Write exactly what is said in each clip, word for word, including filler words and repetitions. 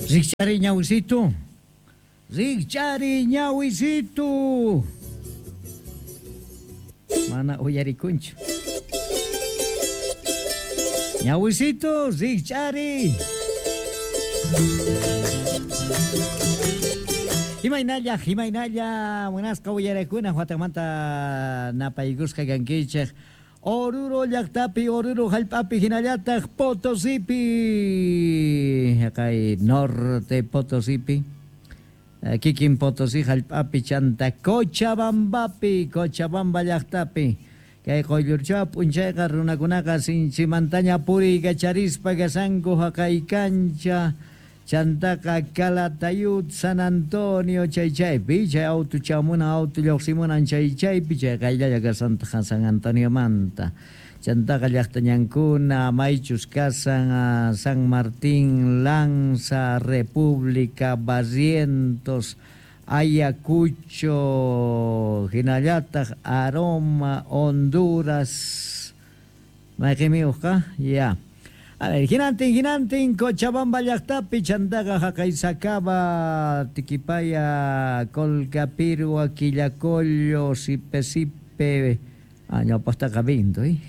Rikchari ñawisitu. Rikchari ñawisitu. Mana uyarikunchu. Ñawisitu, rikchari. Imaynalla, imaynalla, munasqa uyarakuna watamanta napaykusqa kankichej. Oruro llaqtapi, Oruro hallp'api hinallataq Potosipi. Kay norte Potosipi. Kikin Potosí hallp'api chanta Cochabambapi, Cochabamba llaqtapi. Kay quyllurchaw p'unchayqa runakunaqa sinchimantaña puriykacharispa kasanku haqay kancha. Chantaqa Calatayud, San Antonio, chay chaypi, chay auto chamunan, auto lluqsimunan chay chaypi, chay qayllalla kasantaq San Antoniomanta. Chantaqa llaqtañankuna, maychus kasan, San Martín, Lanza, República, Barrientos, Ayacucho, hinallataq Aroma, Honduras. Mayqinmiuqqa? Ya. A ver, hinantin, hinantin, Cochabamba llaqtapi, chantaqa haqay Sacaba, Tiquipaya, Colcapirhua, Quillacollo, Sipe Sipe, ah, ñawpaqtaqa Vinto, eh?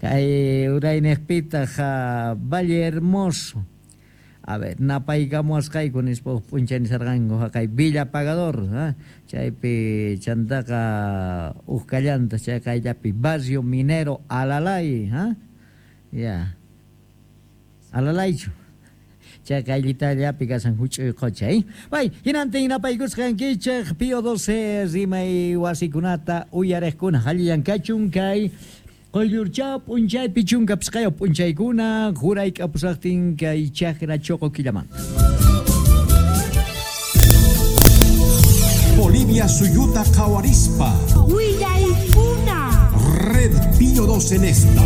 Kay uraynejpitaq Valle Hermoso. A ver, napaykamuwasqayku nispa huk p'unchay nisarqanku haqay Villa Pagador, ¿eh? Chaypi chantaqa huk kallanta chay qayllapi Barrio Minero Alalay, ¿eh? Ya. Alalaychu. Chay qayllitallapi kasan huch'uy qocha, eh? Bay, hinantin napaykusqankichej Pío doce rimay wasikunata uyarejkuna hallillankachun kay quyllurchaw p'unchaypi chunka pisqayuq p'unchaykuna jurayk'apusaqtin kay chakra choqo killamanta. Bolivia suyuta qhawarispa. Willaykuna. Red Pío doce en esta.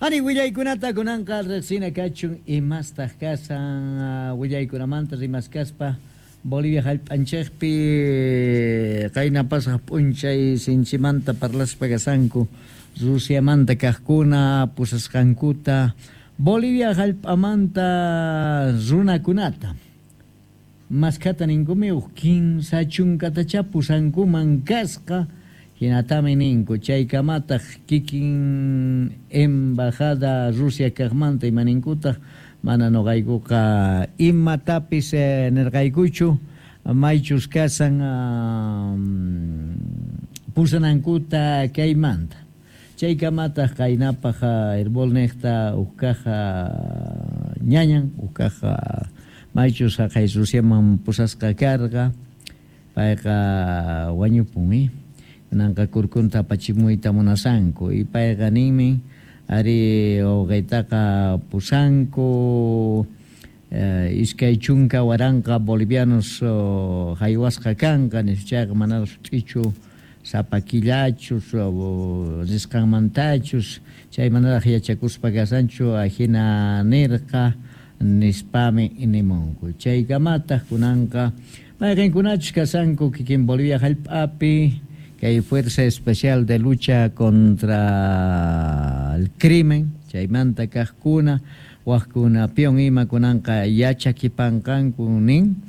Ani willaykunata kunanqa riqsina kachun imastaq kasan willaykunamanta rimaskaspa Bolivia hallp'anchikpi qayna pasaq p'unchay sinchimanta parlaspa kasanku Rusiamanta kaqkuna pusasqankuta Bolivia hallp'amanta runakunata maskhata ninkumi huk kinsa chunkatacha pusankuman kasqa. Hinatami ninku chaykamataq kikin embajada Rusia kaqmanta imaninkutaq mana nuqaykuqa imatapis eh, nirqaykuchu maychus kasan um, pusanankuta kaymanta. Chaykamataq qaynapaq herbolniqta huk kaq ñañan huk kaq maychus haqay Rusiaman pusasqa karqa payqa wañupun, kunanqa kurkunta apachimuyta munasanku y payqa ninmi ari wawqiytaqa pusanku eh, iskay chunka waranqa bolivianos oh, haywasqa kanqa nispa chayqa manaraq sut'ichu sapa killachus risqanmantachus chay manaraq yachakuspa kasanchu ajina nirqa nispami nimunku. Chaykamataq kunanqa mayqinkunachus kasanku kikin Bolivia hallp'api kay Fuerza Especial de Lucha contra el Crimen, chaymanta kaqkuna, waqkuna pion ima kunanqa yachakipanqanku nin,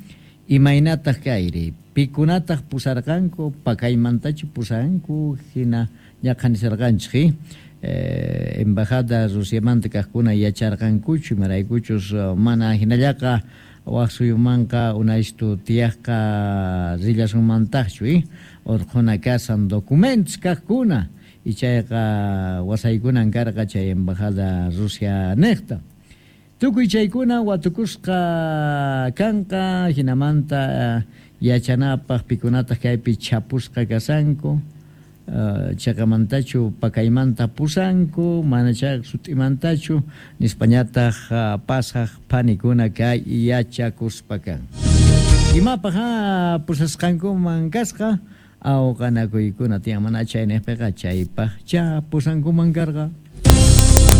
imaynataq kayri, pikunataq pusarqanku, pakaymantachu pusanku, hina ñaqhanisarqanchik, eh, embajada Rusiamanta kaqkuna yacharqankuchu, imaraykuchus mana hinallaqa waq suyumanqa unaystu tiyaqqa rillasunmantaqchu, eh? Urqhuna kasan documentos kaqkuna y chayqa wasaykunan karqa chay embajada Rusia niqta. Tukuy chaykuna watukusqa kanqa hinamanta yachanapaq pikunataq kaypi chapusqa kasanku uh, chaqamantachu pakaymanta pusanku mana chayqa sut'imantachu nispañataq uh, pasaq phanikuna kay yachakuspa kan. Imapaq ha pusasqankuman kasqa awqanakuykuna tiyan mana chayniqpiqa chaypaq cha pusankuman karqa.